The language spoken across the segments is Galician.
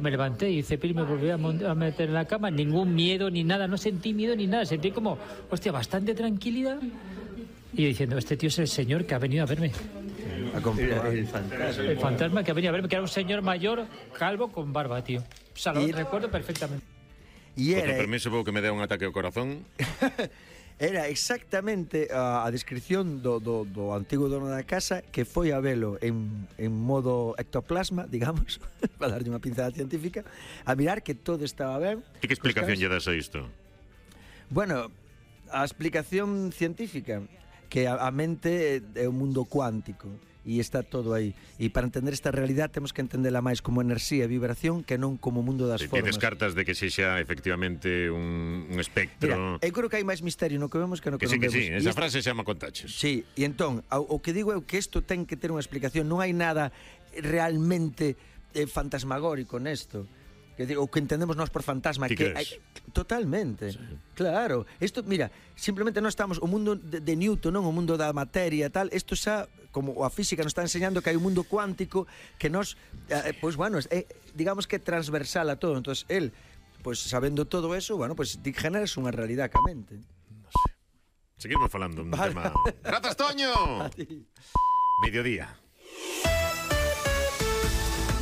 Me levanté y Cepil me volvió a meter en la cama, ningún miedo ni nada, no sentí miedo ni nada, sentí como, hostia, bastante tranquilidad. Y yo diciendo, este tío es el señor que ha venido a verme. El fantasma que ha venido a verme, que era un señor mayor, calvo, con barba, tío. O sea, lo recuerdo perfectamente. E Con permiso, vou que me dé un ataque ao corazón. Era exactamente a descripción do antigo dono da casa, que foi a velo en modo ectoplasma, digamos, para darlle unha pinzada científica, a mirar que todo estaba ben. E que explicación lle das a isto? Bueno, a explicación científica, que a mente é un mundo cuántico e está todo aí. E para entender esta realidade temos que entendela máis como enerxía e vibración que non como mundo das formas. Ti descartas de que sexa efectivamente un espectro... Mira, eu creo que hai máis misterio no que vemos que no que non vemos. Que sí, esa frase xa me contaches. Sí, e entón, o que digo é que isto ten que ter unha explicación. Non hai nada realmente fantasmagórico nesto. O que entendemos nós por fantasma, que hai, totalmente, sí. Claro, isto, mira, simplemente non estamos, o mundo de Newton, non o mundo da materia e tal, isto xa, como a física nos está enseñando que hai un mundo cuántico que nos, pois bueno, digamos que é transversal a todo. Entonces, él, pois sabendo todo eso, bueno, pois ti generas unha realidade ca mente. Non sei. Seguimos falando un tema. Grazas, Toño. Mediodía.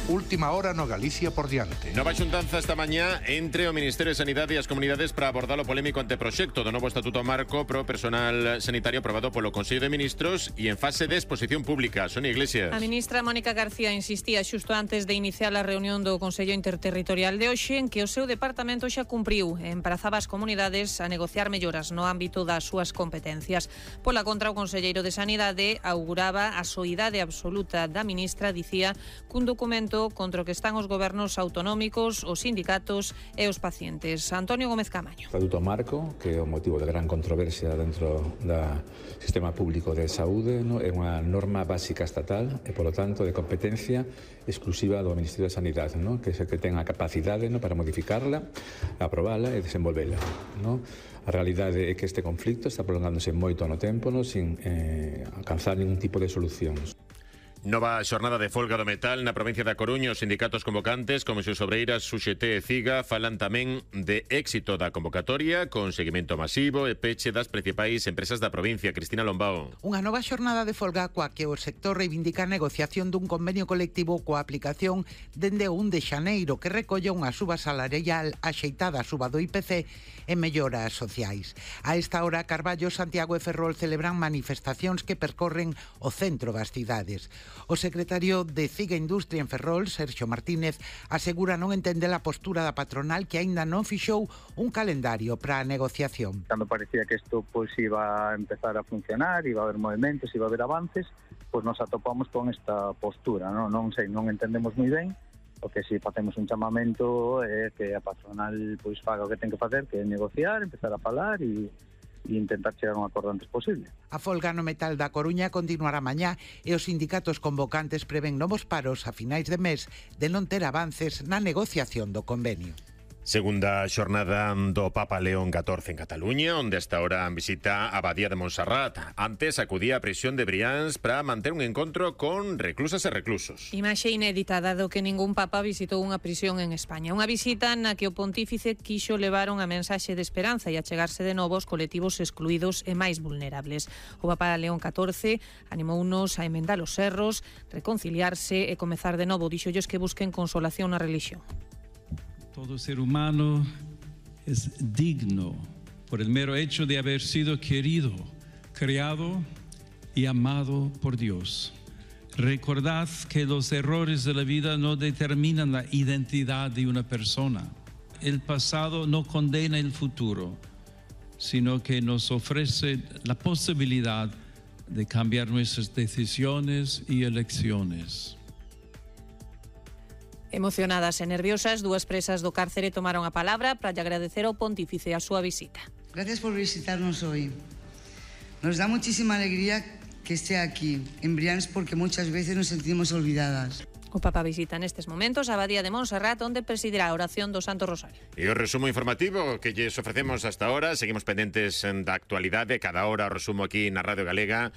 Última hora no Galicia por diante. Nova xuntanza esta mañá entre o Ministerio de Sanidade e as comunidades para abordar o polémico anteproxecto do novo Estatuto Marco pro personal sanitario aprobado polo Consello de Ministros e en fase de exposición pública. Sonia Iglesias. A ministra Mónica García insistía xusto antes de iniciar a reunión do Consello Interterritorial de hoxe en que o seu departamento xa cumpriu e emplazaba as comunidades a negociar melloras no ámbito das súas competencias. Pola contra, o conselleiro de Sanidade auguraba a soidade absoluta da ministra, dicía, cun documento contra o que están os gobernos autonómicos, os sindicatos e os pacientes. Antonio Gómez Camaño. Estatuto Marco, que é o motivo de gran controversia dentro do sistema público de saúde, no? É unha norma básica estatal e, polo tanto, de competencia exclusiva do Ministerio de Sanidade, no? Que é que ten a capacidade, no? Para modificarla, aprobala e desenvolvela, no? A realidade é que este conflicto está prolongándose moito no tempo, no? Sin alcanzar ningún tipo de solucións. Nova xornada de folga do metal na provincia da Coruña. Os sindicatos convocantes, como Comisións Obreiras, UGT e CIGA, falan tamén de éxito da convocatoria con seguimento masivo e peche das principais empresas da provincia. Cristina Lombao. Unha nova xornada de folga coa que o sector reivindica a negociación dun convenio colectivo coa aplicación dende o 1 de xaneiro que recolle unha suba salarial axeitada a suba do IPC e melloras sociais. A esta hora, Carballo, Santiago e Ferrol celebran manifestacións que percorren o centro das cidades. O secretario de CIGA Industria en Ferrol, Sergio Martínez, asegura non entender a postura da patronal que aínda non fixou un calendario para a negociación. Cando parecía que isto pois iba a empezar a funcionar, iba a haber movimentos, iba a haber avances, pois nos atopamos con esta postura, non sei, non entendemos moi ben. O que si facemos un chamamento é que a patronal pois faga o que ten que facer, que é negociar, empezar a falar e intentar chegar a un acordo antes posible. A folga no metal da Coruña continuará mañá e os sindicatos convocantes prevén novos paros a finais de mes de non ter avances na negociación do convenio. Segunda xornada do Papa León XIV en Cataluña, onde hasta ahora visita a Abadía de Montserrat. Antes acudía a prisión de Brians para manter un encontro con reclusas e reclusos. Imaxe inédita, dado que ningún papa visitou unha prisión en España. Unha visita na que o pontífice quixo levar unha mensaxe de esperanza e achegarse de novo aos colectivos excluídos e máis vulnerables. O Papa León XIV animounos a emendar os erros, reconciliarse e comezar de novo. Díxolles que busquen consolación na religión. Todo ser humano es digno por el mero hecho de haber sido querido, creado y amado por Dios. Recordad que los errores de la vida no determinan la identidad de una persona. El pasado no condena el futuro, sino que nos ofrece la posibilidad de cambiar nuestras decisiones y elecciones. Emocionadas e nerviosas, dúas presas do cárcere tomaron a palabra para agradecer ao pontífice a súa visita. Gracias por visitarnos hoy. Nos da muchísima alegría que esté aquí, en Brians, porque muchas veces nos sentimos olvidadas. O Papa visita nestes momentos a Abadía de Montserrat, onde presidirá a oración do Santo Rosario. E o resumo informativo que lles ofrecemos hasta ahora. Seguimos pendentes da actualidade. Cada hora o resumo aquí na Radio Galega.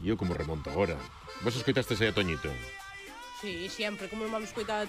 E eu como remonto agora. Vos escoitastes aí a Toñito? Sí, sempre, como non vamos coitar